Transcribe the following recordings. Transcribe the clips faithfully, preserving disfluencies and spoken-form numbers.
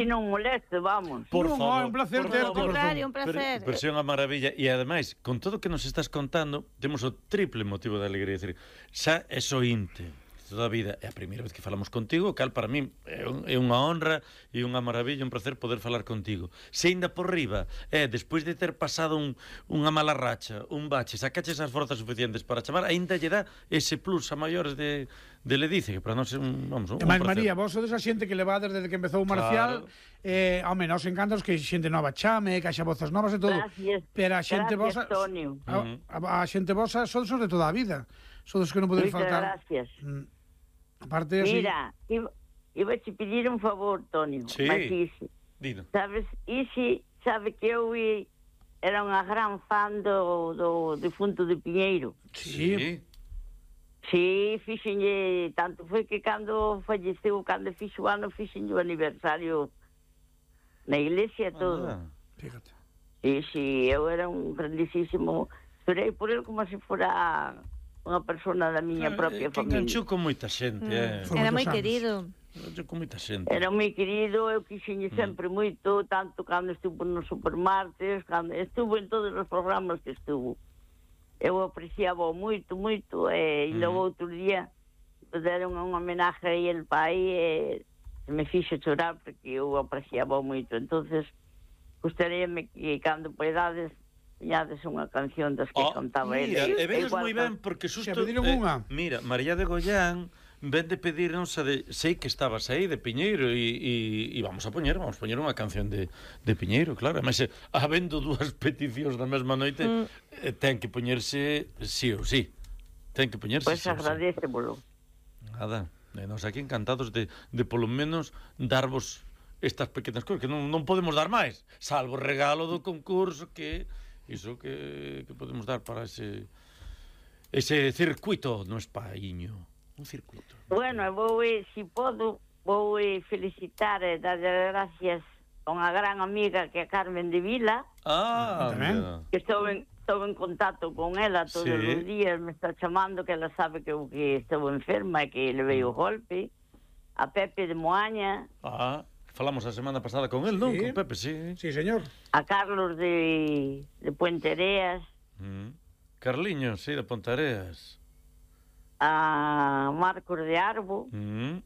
Si non moleste, vamos. Por non, favor, é un placer por ter. favor. Contrario, un placer. Pero, pero é unha maravilla. E ademais, con todo o que nos estás contando, temos o triple motivo de alegría. Decir, xa é sointe toda a vida. É a primeira vez que falamos contigo, cal para mí é, un, é unha honra e unha maravilla, un placer poder falar contigo. Se ainda por riba, é, despois de ter pasado un, unha mala racha, un bache, sacaches as forzas suficientes para chamar, ainda lle dá ese plus a maiores de, de Ledice, que para nós é un, vamos, un, E máis, María, vos sodes a xente que levades desde que empezou o Marcial. Claro. Eh, home, nos encantanos que xente nova chame, que haxa vozas novas e todo. Gracias. Pero a xente Gracias, vosa, Tonio. a, a, a xente vosa sodes os de toda a vida. Sodes que non podedes Moitas faltar. gracias. Mm. Aparte, así... Mira, iba, iba te pedir un favor, Tonio. Sí. Mas Isi, Dino. sabes, Isi sabe que eu i- era unha gran fan do, do difunto de Piñeiro. Sí. Sí, fixenlle, tanto foi que cando falleceu, cando fixo o ano, fixenlle o aniversario na iglesia e todo. Ah. Fíjate. Sí, sí, eu era un grandísimo... Esperei por ele como se fora unha persona da miña propia que familia. enganchou con moita xente, eh. Foi Era moi moitos anos. querido. Enganchou con moita xente. Era moi querido, eu quixenlle sempre moito, tanto cando estuvo nos Supermartes, cando estuvo en todos os programas que estuvo. Eu apreciaba moito, moito, e mm. logo outro día deron unha homenaje aí el pai e se me fixo chorar porque eu apreciaba moito. Entonces, gustaríame que cando poidades tiñades unha canción das que Oh, cantaba mira, ele. e vedes Igual moi que- ben porque Se susto pediron unha. Mira, María de Goián ven de pedirnos a de, sei que estabas aí de Piñeiro e, e, e vamos a poñer, vamos a poñer unha canción de, de Piñeiro, claro. Ademais, eh, habendo dúas peticións na mesma noite, mm. eh, ten que poñerse sí ou sí. Ten que poñerse Pois sí ou sí. agradecémolo. Nada, e nos aquí encantados de, de polo menos darvos estas pequenas cousas que non, non podemos dar máis, salvo o regalo do concurso que iso que, que podemos dar para ese ese circuito no espaiño, un circuito. Bueno, vou, eh, si podo, vou eh, felicitar e dar gracias a unha gran amiga que é Carmen de Vila, Ah, Tamén. mira. que estou en, estou en contacto con ela todos Sí. os días, me está chamando, que ela sabe que eu que estou enferma e que le veio o golpe, a Pepe de Moaña, Ah, falamos a semana pasada con el, non? Sí. Con Pepe, sí. Sí, señor. a Carlos de, de Puentereas, Mm. Carliños, sí, de Pontareas. a Marcos de Arbo, Mm.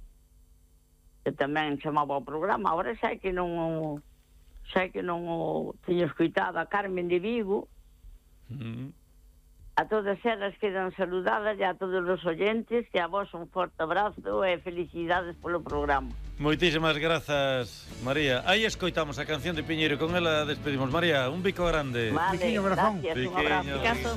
que tamén chamaba ao programa, agora xa que non o- xa que non o teño escoitado, a Carmen de Vigo, Mm. a todas elas quedan saludadas e a todos os oyentes, que a vos un forte abrazo e felicidades polo programa. Moitísimas grazas, María. Aí escoitamos a canción de Piñeiro, con ela despedimos. María, un bico grande. Vale, Biquiño, corazón. gracias, un Biquiño. abrazo. Caso.